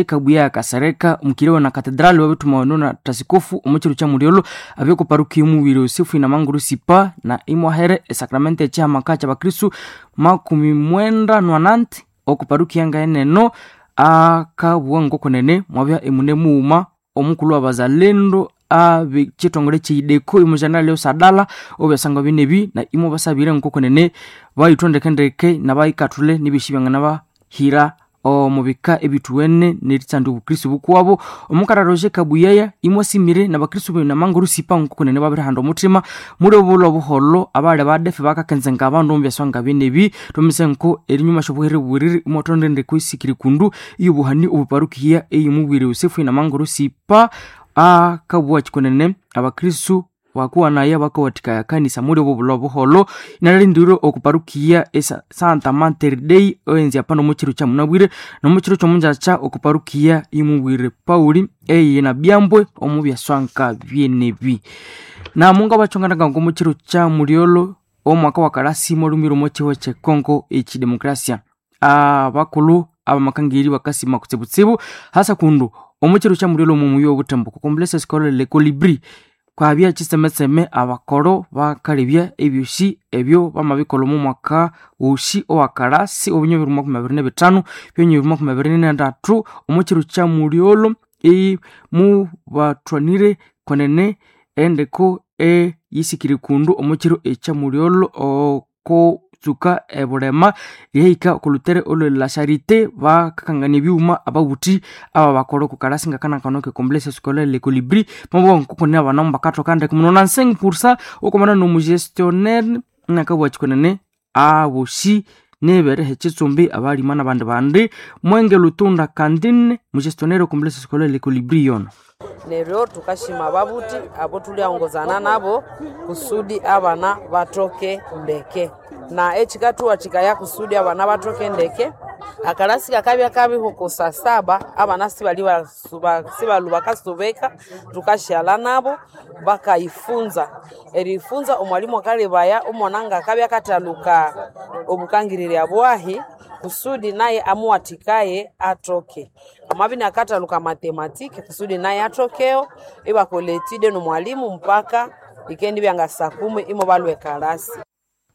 Kabuya Kasereka omukiriwa na katedrali wabithuma na tasikofu omukyiro kya mulyolo abyoko parukia omubiri Yosefu Inamanguru Sipa na imwahere esakramenti ekyihamaka kyabakristu 98 oku parukia ngaeneno akabugha ngokunene mwabya emune mughuma omukulhu wabazalendo abekyithongole kyeideko omujanali osadala obyasangwa binebi na imo basabire ngokunene bayithwa ndekendeke nabayikathule nibyosi byanganabahira omubika ebithuwene neritsanda obukristu bukuwabo. Omukara Roger Kabuyaya imwasimire nabakristu benamanguru sipa ngokunene babirihanda omuthima muli obulho obuholho abali badefe bakakenzenga abandu omubyaswa ngabinebi. Thwamise nko erinyuma syobuhere bubiriri imwathonda endeko isikiri kundu iyobuhani obuparukiya eyomubwire Yosefu Inamanguru Sipa akabugha kyikunene abakristu bakuwanaya bakawathikaya kanisa muli obo bulho obuholho inalindire oku parukiya esa Santa Mater Dei owenzi apano omukyiro kyamunabwire nomukyiro kyomungyakya oku parukiya imubwire Pauli eye na Byambwe omu byaswa nkabyenebi. Na munga bakyonganaga ngomukyiro kya mulyolo omwaka wa kalasi mwalhumire omo kyihugho kye Congo ekyidemokrasia. Abakulhu abamakangiri bakasima kutsibutsibu hasa kundu omukyiro kya mulyolo omumuyi obuthembo ku Complexe Scolaire Le Colibri kwabya kyisemeseme abakoro bakalebya ebyosi ebyo bamabikolha omo mwaka wosi owakalasi obunywa 2025 byonywa 2023 omukyiro kya mulyolo mubathwanire kwenene endeko eyisikire kundu omukyiro ekya mulyolo okutsuka ebulema lyahika okolhutere olwe la Charité bakakangania ebyuma ababuthi ababakolha okukalasi ngakanakano ke Complexe Scolaire Le Colibri mabugha ngokune abana bakathoka ndeke muno na 5% okwamana nomugestionnaire nakabugha kyikunene abosi nibereha ekyitsumbi abalima nabandi bandi Mwenge Lutunda Kandine mugestionnaire Complexe Scolaire Le Colibri yono. Neryo tukashima ababuthi abo tulyaongozana nabo kusudi abana bathoke ndeke na ekikathuwathikaya kusudi abana bathoke ndeke. Akalasi kakabya kabiho ku saa saba abana sibalhu bakasubeka tukashyalha nabo bakayifunza. Eriyifunza omwalimu akalebaya omwana ngakabya akathaluka obukangirirya bwahi kusudi naye amuwathikaye athoke. Amabya inakathaluka mathematiki kusudi naye athokeyo ibakolha etude nomwalimu mpaka ikendibya nga saa kumi imobalhwa ekalasi.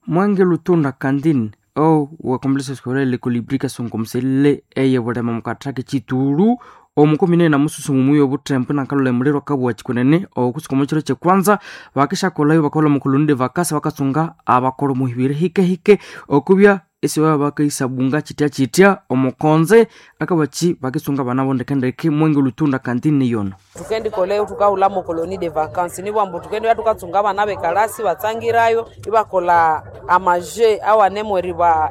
Mwenge Lutunda Kandine owa Complexe Scolaire Le Colibri kasongomoselele eyebulema mukathaka ekyitulu omukumi na mususu mumuyi obuthembo nakalholha emuliro akabugha kyikunene okutsuka omukyiro kyekwanza bakishakolhayo bakakolha omukoloni de vakasi bakatsunga abakolha omuhibiri hikehike okubya esibabya bakayisabunga kyityakyitya omukonze akabakyi bakitsunga abana bo ndekendeke. Mwenge Lutunda Kandine yono. Thukendikolhayo thukahulha colonie de vacances nibwambu thukendibya thukatsunga abana bekalasi batsangirayo ibakolha amaje awanemu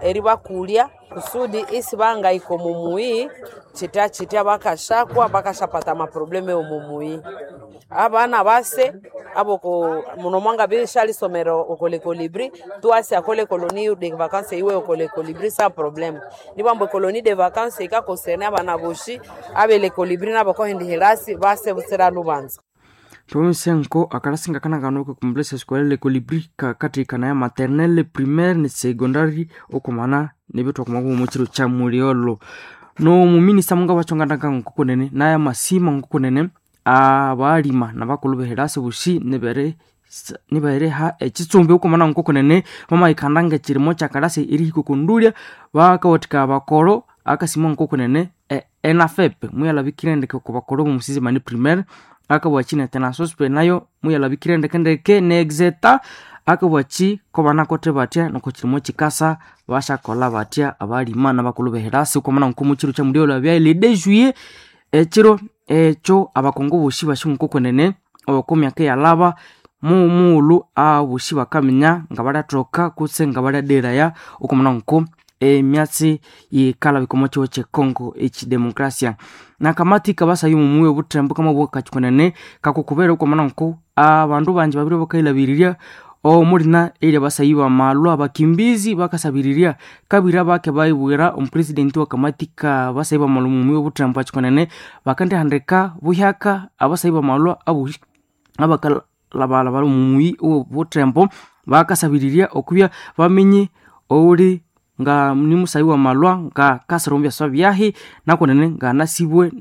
eribakulya kusudi isibangahika omumuyi kyityakyitya bakashakwa bakashapata amaprobleme omumuyi. Abana base aboko muno mwangabya isyalisomera oko Le Colibri tuwasi akole colonie de vacances iwe oko Le Colibri sa problème. Nibwambu ecolonie de vacances yikaconcerne abana bosi abe Le Colibri nabakohindi hilasi base butsira lubanza. Thwamise nko akalasi ngakanakano ka Complexe Scolaire Le Colibri kakathikanaya maternelle, primaire ne secondary okwamana nebithwakwamako omukyiro kya mulyolo. Nomuminista mungabakyonganaka ngokunene naye amasima ngokunene abalima nabakulhu behirasi bosi niberiha ekyitsumbi okwamana ngokunene bamayikhanda ngekyirimo kyakalasi erihika okundulya bakawathikaya abakoro akasima ngokunene enafep muyalhabikire ndeke okubakoro bomusisimani primaire akabugha ne tenasospe nayo muyalhabikire ndekendeke ne exeta akabugha kobanakothe bathya nokukyirimo kyikasa basyakolha bathya abalima nabakulhu behirasi okwamana ngomukyiro kyamulyolho abya le 2 juillet ekyiro ekyo abakongo bosi basi ngokunene okomyaka eyalhaba mumughulhu abosi bakaminya ngabalyathoka kutse ngabalyaderaya okwamana nko emyatsi yikalhabika omo kyihugho kye Congo ekyidemokrasia. Nakamati kabasayi omumuyi obuthembo kamabugha kakyikunene kakukubera okwamana nko abandu bangi babiri bakayilhabirirya omulina erya basayi bamalwa abakimbizi bakasabirirya kabira bake bayibwira omupresidenti wakamati ka basayi bamalwa omumuyi obuthembo akyikunene bakandihandika buhyaka abasayi bamalwa abosi abakalhabalhabala omumuyi owobuthembo bakasabirirya okubya bamenye owuli Nga ni musayi wa malwa nga kasira omu byaswa byahi, nakunene nga anasibwe.